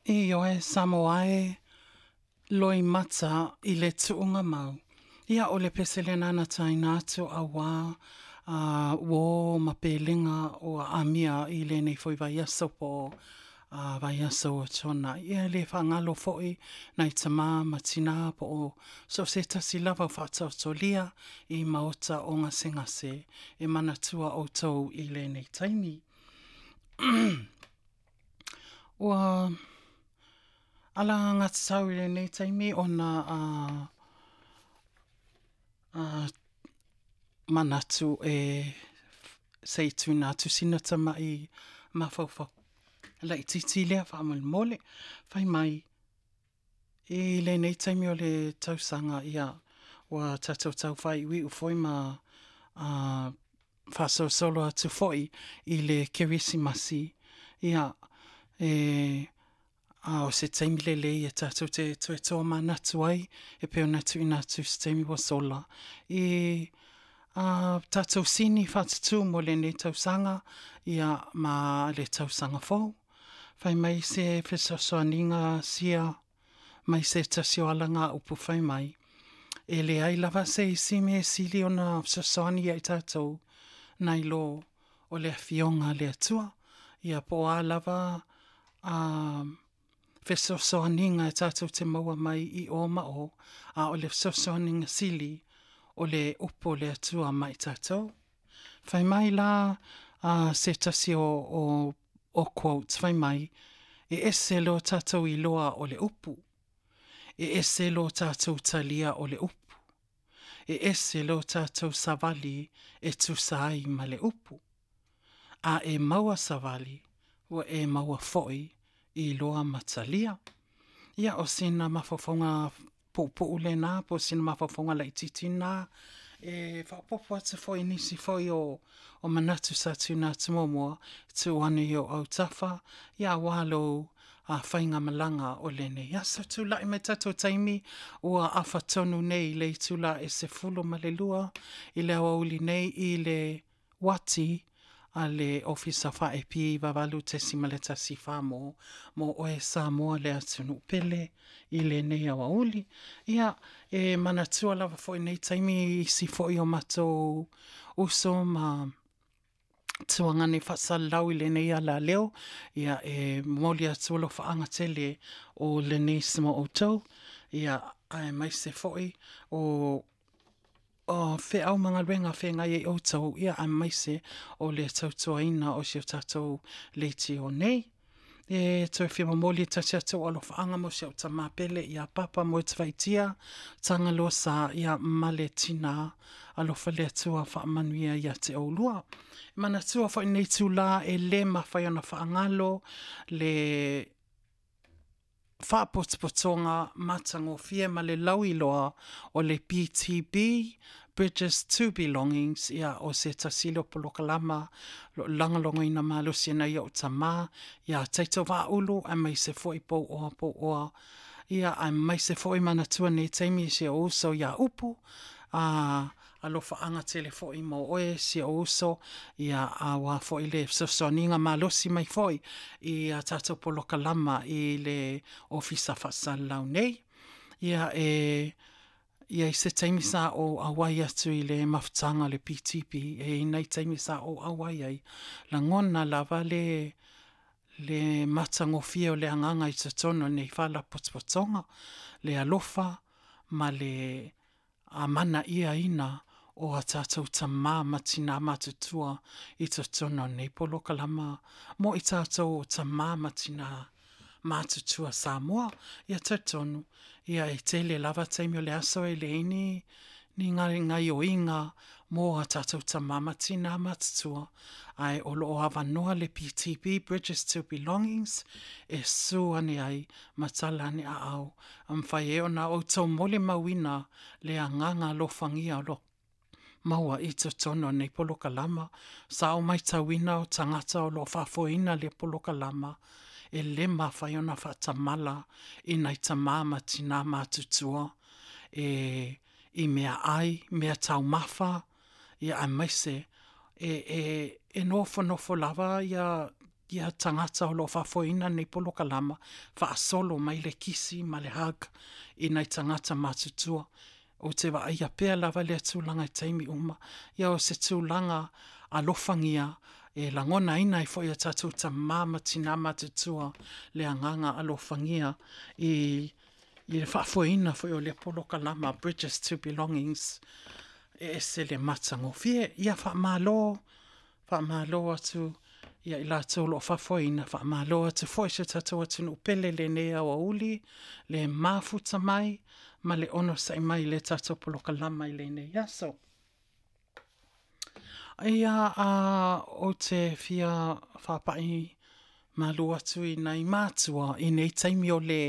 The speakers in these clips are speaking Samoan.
Ioe Samoa e, loimata i le tuuga mau. Ia o le pese lena na taina atu auā a uō ma pelega ua amia i lenei foi vaiaso po o a vaiaso ua tuanai. Ia e le faagalo foi nai tamā ma tinā po o so o se tasi lava o faataotolia i maota o gasegase e manatua ʻoutou i lenei taimi. Ua alagatatau i lenei taimi ona a a manatu e se i tuuina atu sina tama'i mafaufau laitiiti lea faamolemole. Fai mai, i lenei taimi o le tausaga, ia, ua tatou tau faaiuiu foi ma a faasolosolo atu foi i le Kerisimasi, ia, e, a o se taimi lelei e tatou te toe tomanatu ai e pei ona tuuina atu i se taimi ua sola i a tatou sini faatutū mo lenei tausaga, ia, ma le tausaga fou. Fai mai se fesoasoaniga sia mai se tasi o alagaupu fai mai, E leai lava se isi mea e sili ona fesoasoani ia i tatou nai lo o le Afioga a le Atua. Ia po o a lava a fesoasoaniga e tatou te maua mai i o ma o, a o le fesoasoaniga sili o le upu o le Atua ma i tatou. Fai mai la a se tasi o, o, o quotes, fai mai, E ese lo tatou iloa o le upu. E ese lo tatou talia o le upu. E ese lo tatou savali e tusa ai ma le upu. A e maua savali, ua e maua foi iloa ma talia. Ia, o sina mafaufauga puupuu lena, po o sina mafaufauga laitiiti lena, e faaopoopo atu foi i nisi foi o, o manatu sa tuuina atu muamua, tuu ane i ou autafa, ia auā lou a faigamalaga o lenei aso. Tulai mai tatou taimi ua afa tonu nei i le itula e 12 i le aoauli nei i le uati a le Ofisa Faa-AP 98.14 mo mo oe Samoa le atunuu pele i lenei aoauli. Ia, e manatua lava foi nei taimi i isi foi o matou uso ma tuagane faasalalau i lenei alaleo, ia e momoli atu alofaaga tele o Lenise mo outou, ia aemaise foi o o feau ma galuega feagai ai outou, ia aemaise o le tautuaina o si o tatou leitio nei. E toe fia momoli e tasi atu alofaaga mo si au tamā pele ia Papa Moetavaitia, Tagaloa Sa, ia ma le tinā alofa le Atua faamanuia ia te oulua. E manatua foi nei itulā e le mafai ona faagalo le faapotopotoga matagofie ma le lauiloa o le BTB, Bridges to Belongings, ia o se tasi lea o polokalama o lo o lagolagoina malosi e nai o'u tamā iā Taito Vaaulu aemaise foi Pouoa Pouoa, ia aemaise foi manatua nei taimi i si ou uso iā Upu, a Alofaaga tele foi mo oe si ou uso, ia auā foi le fesoasoaniga malosi mai foi i a tatou polokalama i le Ofisa Faasalalau nei. Ia e i ai se taimi sa ou auai atu i le mafutaga o le PTP, e i ai nai taimi sa ou auai ai, lagona lava le le matagofie o le agaga i totonu o nei faalapotopotoga, le alofa ma le a mana'iaina o a tatou tamā ma tinā matutua i totonu o nei polokalama mo i tatou o tamā ma tinā matutua Samoa. Ia talitonu, ia e tele lava taimi o le aso e leai ni ni gaioiga mo a tatou tamā ma tinā matutua, ae o lo o avanoa le BTB, Bridges to Belongings, e su ane ai ma tala ane aao a mafai ai ona outou molimauina le agaga alofagia o lo maua i totonu o nei polokalama. Sa ou maitauina o tagata o lo o faafoeina lea polokalama e le mafai ona faatamala i nai tamā ma tinā matutua e i meaai, mea taumafa, ia aemaise e, e, e nofonofo lava ia ia tagata o lo o faafoeina lenei polokalama, faasolo mai le kisi ma le hug i nai tagata matutua. Ou te vaaia pea lava lea tulaga i taimi uma. Ia o se tulaga alofagia e lagonaina ai foi e tatou tama ma tina matutua le agaga alofagia i i le faafoeina foi o lea polokalama Bridges to Belongings e ese le matagofie. Ia faamalo Faamalo atu ia i latou o lo o faafoeina, faamalo atu foi i si o tatou atunuu pele i lenei aoauli, le mafuta mai ma le onosai mai i le tatou polokalama i lenei aso. Ia, a ou te fia faapai malu atu i nai matua i nei taimi o le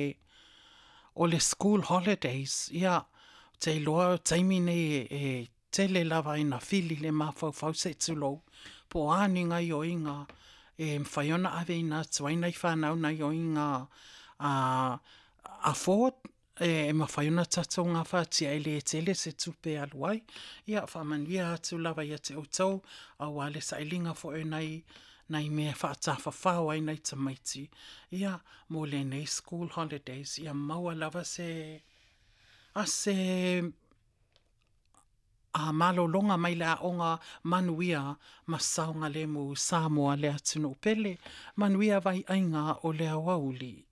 o le school holidays, ia, ou te iloa o taimi nei e tele lava ina fili le mafaufau se i tulou, po o a ni gaoioiga e mafai ona aveina atu ai nai fanau i gaoioiga a afford e mafai ona tatou gafatia e le tele se tupe e alu ai. Ia faamanuia atu lava ia te outou aua le sailiga foi o nai nai mea e faatafafao ai nai tamaiti ia mo lenei school holidays ia maua lava se a se A malologa mai le aoga manuia ma saogalemu Samoa le atunuu pele. Manuia vai aiga o le aoauli.